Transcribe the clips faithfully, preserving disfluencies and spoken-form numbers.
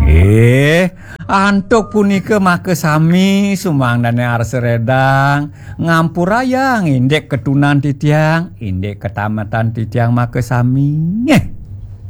Nggih, antuk punika makasami sumangdané arsa redang ngampurayang indik ketunan titiang, indik ketamatan titiang makasami. Nggih.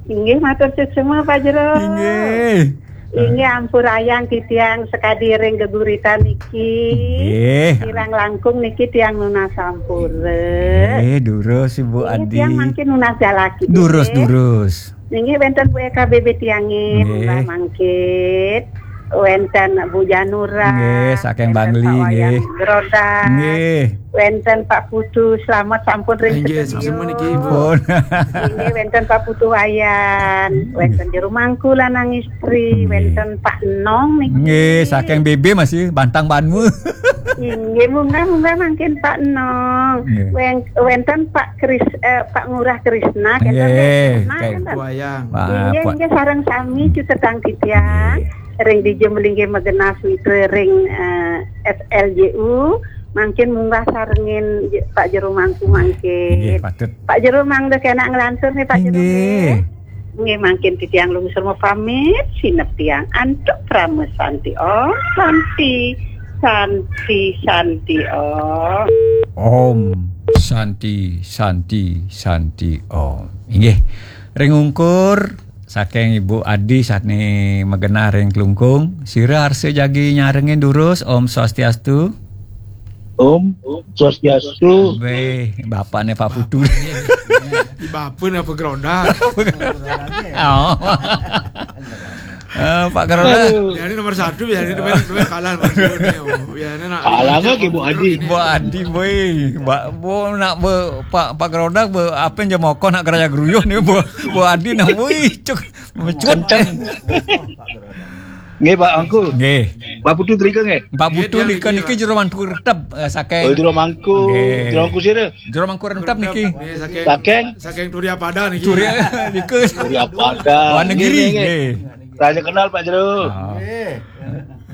Inggih, matur suksma, Pak Jero. Inggih. Inggih, ampurayang titiang sakadi ring geguritan niki. Nggih. Kirang langkung niki tiang nunas ampura. Nggih, durus, Ibu Nggih, Adi. Tiang mangkin nunas jalaki. Durus, nggih. Durus. Inggih, wénten Bu Eka B B tiangé, nggih. Munggah mangkin. Wénten Bu Janura. Nggih, saking wénten Bangli, Pak Wayang nggih. Grodak. Nggih. Wénten Pak Putu, selamat sampun ring Inggih, sedaya. Sami niki, Bu. Pun. Inggih, wénten Pak Putu Wayan, wénten jero mangku lanang istri, nggih. Wénten Pak Nong niki. Nggih, saking B B masih Bantang Banmu. Inggih, munggah-munggah mangkin Pak Nong. Nggih. Wén-, wénten Pak Kris-, eh, Pak Ngurah Krisna, kenten Nggih, Krisna, kayak kenten. Wayang. Wah, inggih, Pak. Inggih, sareng sami cutetang titiang. Nggih. Ring dija melinggih magenah mitra ring, eh, S L J U, mangkin munggah sarengin J-, Pak Jero Mangku mangkin. Nggih, patut. Pak Jero mangda kenak nglantur nih, Pak Jero, inggih. Nggih. Nggih, mangkin titiang lungsur mapamit, sineb tiang antuk Parama Santi Om. Santi, Santi, Santi Om. Om Santi, Santi, Santi Om. Inggih. Ring ungkur saking Ibu Adi sané magenah ring Klungkung. Sira arsa jagi nyarengin durus, Om Swastiastu. Om Swastiastu. Wéh, bapakné Pak Putu. Di bapa napa Gerodak? Oh. Eh, Pak Gerodak. Aduh. Ya, ini nomor satu, ya, ini temen, temen kalah nomor dua nih, oh. Ya, ini nak kalah nggak, Bu Adi? Bu Adi, boy. Mbak, Bu, nak be, Pak, Pak Gerodak, be, apa yang jam mokon nak kerja geruyuh nih, Bu, Bu Adi, nak, wih, cuk, mecut. Kenceng. Nggih, Pak Angku. Nggih. Pak Putu drika nggih? Pak Putu nggih, drika nggih, niki Pak. Jero mangku retep, eh, saking. Oh, jero mangku. Nggih. Jero mangku sira? Jero mangku retep niki. Nggih, saking, saking? Saking Turiapada niki. Turiapada. Wonogiri. Nggih, nggih, nggih. Nggih. Raja kenal, Pak Jero. Oh. Nggih.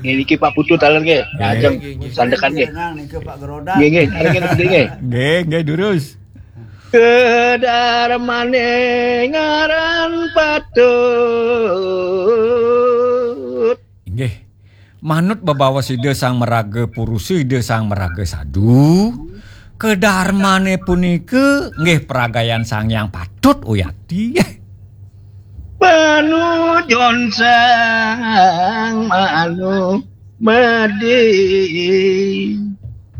Nggih, niki Pak Putu taler nggih. Nggih. Lajeng nggih, nggih. Sandekan nggih. Nggih, nggih. Nggih, nggih, nggih. Nggih, nggih, durus. Kedarmane ngaran patut. Inggih. Manut bebaos Ida Sang Maraga Purusa, Ida Sang Maraga Sadu, kedarmane punika nggih pragayan Sang Hyang Patut, uyati. Panujon Sang Manu Madi.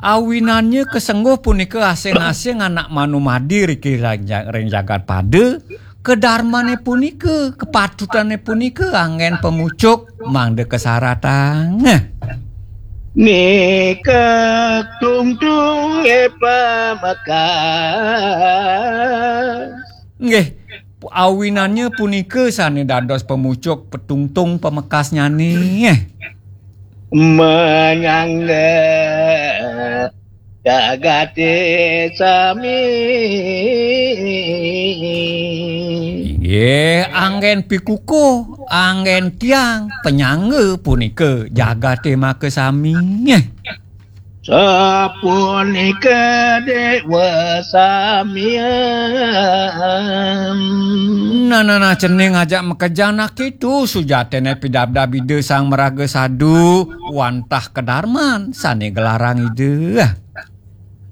Awinannya kesengguh punika asing-asing anak Manu Madi riki ring ja-, ring jagat pada, kedarmane punika, kepatutane punika anggen pamucuk mangda kasaratang. Nika tungtung e pamekas. Nggih, awinannya punika sane dados pamucuk petungtung pamekasnyane. Menyangga jagate sami. Inggih, anggen pikukuh, anggen tiang, penyangga punika jagate makasami. Sapunika dewa samian. Nah, nah, nah, cening ajak makejang nak itu, sujatene pidabdab Ida Sang Maraga Sadu, wantah kedarman, sane gelarang Ida.